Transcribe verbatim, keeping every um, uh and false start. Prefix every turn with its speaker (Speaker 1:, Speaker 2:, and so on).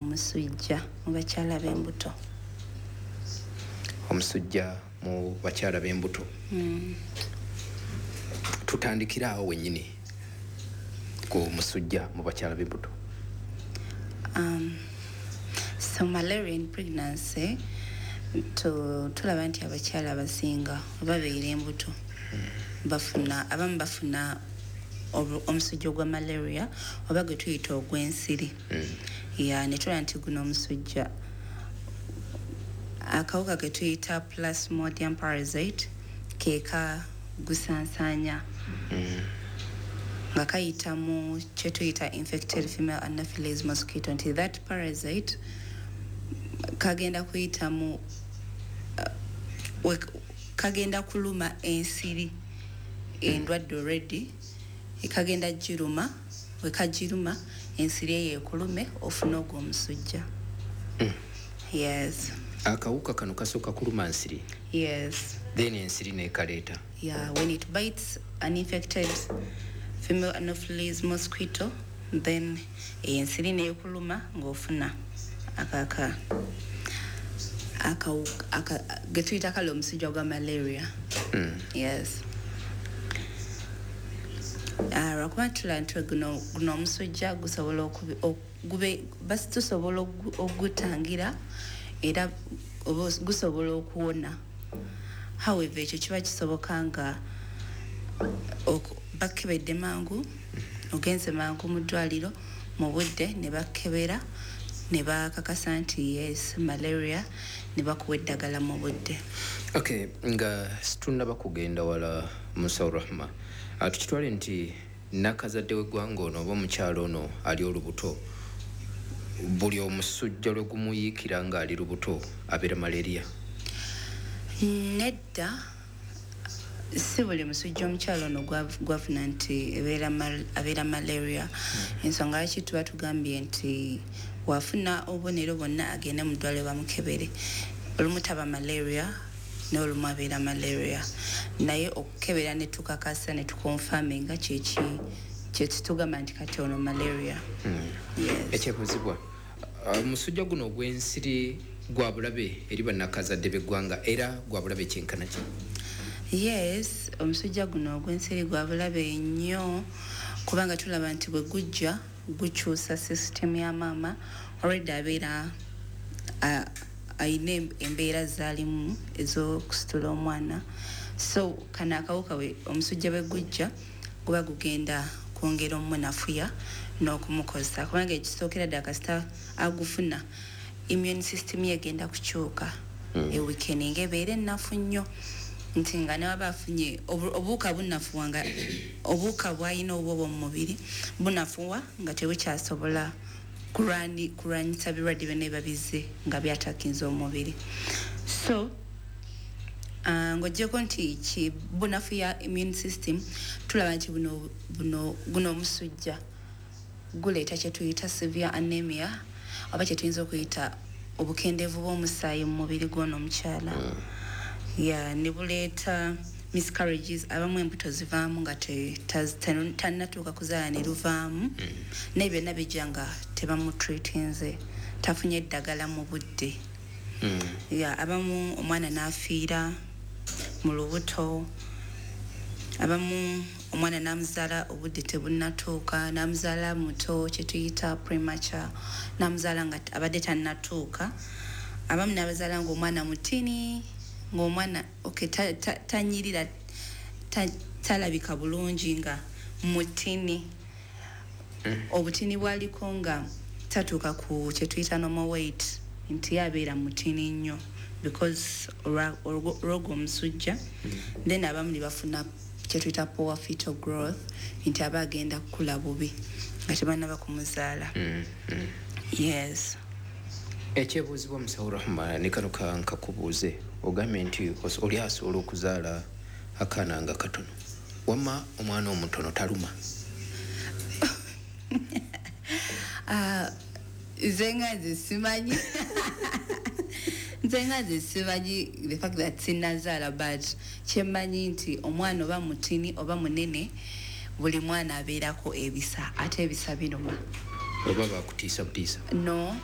Speaker 1: Omusujja mu bakyala b'embuto.
Speaker 2: Omusujja mu bakyala b'embuto.
Speaker 1: Mm.
Speaker 2: Tutandikira awo wennyini ku musujja mu bakyala b'embuto.
Speaker 1: Um, so malaria in pregnancy, tu, tulaba nti abakyala abasinga babeera embuto
Speaker 2: mm.
Speaker 1: bafuna, abamu bafuna omusujja ogwa malaria oba gwe tuyita ogw'ensiri.
Speaker 2: Mm.
Speaker 1: Ya, ne tulaba nti guno omusujja akawuka ke tuyita plasmodium parasite keeka gusansaanya
Speaker 2: mm.
Speaker 1: nga kayita mu kye tuyita infected female anopheles mosquito, nti that parasite kagenda kuyita mu uh, kagenda kuluma ensiri endwadde already, ekagenda giruma, wekagiruma ensiri eyo ekulume ofuna ogwo omusujja.
Speaker 2: Mm.
Speaker 1: Yes.
Speaker 2: Akawuka kano kasooka kuluma nsiri.
Speaker 1: Yes.
Speaker 2: Then ensiri n'ekaleeta.
Speaker 1: Yeah, when it bites an infected female anopheles mosquito, then ensiri n'ekuluma ng'ofuna akaka aka ge tuyita kale omusujja gwa malaria.
Speaker 2: Mm.
Speaker 1: Yes. Ah, lwakuba tulaba nti guno guno omusujja gusobola gube basi tusobola ogutangira era gusobola okuwona. However, ekyo kiba kisoboka nga bakebedde mangu, ogenze mangu mu ddwaliro mu budde ne bakebera ne bakakasa nti yes malaria, ne bakuwa eddagala mu budde.
Speaker 2: Okay, nga situnnaba kugenda wala, Musawo Rahma, tukitwale nti nakazadde w'eggwanga ono oba omukyalo ono ali olubuto, buli omusujja lwe gumuyiikira ng'ali lubuto abeera malaria?
Speaker 1: Nedda, si buli musujja omukyalo ono gwafuna nti abeera malaria.
Speaker 2: Mm.
Speaker 1: Ensonga lwaki tuba tugambye nti wafuna obubonero bwonna agende mu ddwaliro bamukebere. Olumu taba malaria n'olumu abeera malaria, naye okukebera ne tukakasa ne tukonfaminga kyeki kyetutugamba nti kati ono malaria.
Speaker 2: Mm.
Speaker 1: Yes.
Speaker 2: Ekyebuuzibwa, omusujja guno ogw'ensiri gwa bulabe eri bannakazadde b'eggwanga era gwa bulabe kyenkana ki?
Speaker 1: Yes, omusujja guno ogw'ensiri gwa bulabe nnyo kubanga tulaba nti bwe gujja gukyusa system ya maama. Already abeera ayina embeera zaalimu ez'okusitula omwana, so kano akawuka omusujja bwe gujja guba gugenda kwongera omunafuya n'okumukozesa, kubanga ekisookera ddala kasita agufuna immune system ye egenda kukyuka,
Speaker 2: mm.
Speaker 1: eweakeninga ebeera ennafu nnyo, nti nga ne waba afunye obuwuka bunafuwa, nga obuwuka bw'alina obwo mu mubiri bunafuwa nga tebukyasobola kulwanyisa birwadde byonna ebiba bizze nga byatakinza omubiri. So uh, ng'oggyeko nti ki bunafuya immune system, tulaba nti buno buno guno omusujja guleeta kye tuyita severe anemia oba kye tuyinza okuyita obukendeevu bw'omusaayi mu mubiri gw'ono omukyala.
Speaker 2: Mm.
Speaker 1: Yeah, ne buleeta miscarriages, abamu embuto zivaamu nga tannatuuka kuzaala ne luvaamu,
Speaker 2: mm.
Speaker 1: naye byonna bijja nga tebamutreatinze, tafunye eddagala mu budde.
Speaker 2: Mm.
Speaker 1: Yeah, abamu omwana n'afiira mu lubuto, abamu omwana n'amuzaala obudde tebunnatuuka, n'amuzaala muto kye tuyita premature, n'amuzaala nga abadde tannatuuka, abamu n'abazaala ng'omwana mutini, ng'omwana okay tanyirira, talabika bulungi nga mutini.
Speaker 2: Mm.
Speaker 1: Obutini bwaliko nga tatuuka ku kye tuyita normal weight, nti abeera mutini nnyo because olw'ogwo omusujja.
Speaker 2: Mm.
Speaker 1: Then abamu ne bafuna kye tuyita poor fetal growth, nti aba agenda kukula bubi nga tebannaba kumuzaala.
Speaker 2: Mm. Mm.
Speaker 1: Yes.
Speaker 2: Ekyebuuzibwa, Musawo Rahma, ne kano nkakubuuze, ogambye nti oli asobola okuzaala akaana nga katono, wamma omwana omutono taluma?
Speaker 1: Nze nga nze simanyi, nze nga nze simanyi the fact that sinnazaala, but kyemmanyi nti omwana oba mutini oba munene, buli mwana abeerako ebisa, ate ebisa biruma.
Speaker 2: Oba bakutiisa butiisa?
Speaker 1: No.